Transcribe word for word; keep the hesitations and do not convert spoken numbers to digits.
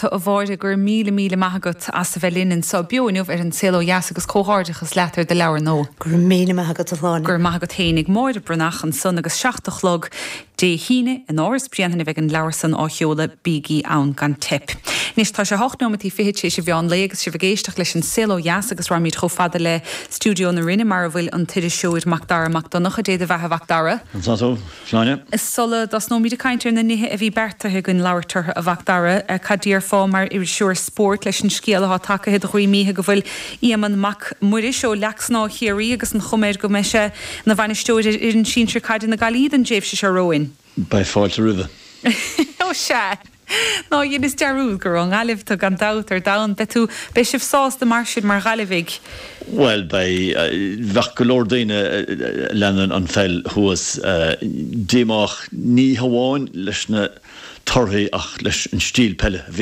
tú a Mháire gur míle míle maith agat as a bheith linn anseo beo inniu ar an Saol Ó Dheas agus comhghairdeachas leat ar do leabhar nua. Gur míle maith agat a Shláine. Gur maith agat féinig Máire Breathnach ansan agus seacht a chlog Dé hAoine in Áras Bhréanainn a bheidh an leabhar san á sheoladh bígí ann gan teip. Anois tá sé hocht nóiméad fiche tar éis an mheán lae agus sibh ag éisteacht leis an Saol Ó Dheas agus raghaimid chomh fada le Stiúideo na Rinne mar a bhfuil an t-iriseoir Macdara Mac Donncha Dé do bheatha Mhacdara. Sláine. Sula dtosnóimid ag caint ar na nithe a bhí beartaithe againn labhairt orthu a Mhacdara, cad déarfá mar iriseoir spóirt leis an scéal atá tagtha i do dhroim oíche go bhfuil Éamonn Mac Muiris ó Leac Snámha Chiarraí agus an chuma air go mbeidh sé ina bhainisteoir ar fhoireann sinsir caide na Gaillimhe don tréimhse seo romhainn. Beidh fáilte roimhe. Ó sea. Ná dheineas dearúd gur ón nGaillimh tú gan dabht ar domhan. Beidh tú beidh sibh sásta mar sin mar Ghaillimhigh. Bhuel beidh bheadh go leor daoine a leanann an pheil thuas díomách ní hamháin leis na torthaí ach leis an stíl peile a bhí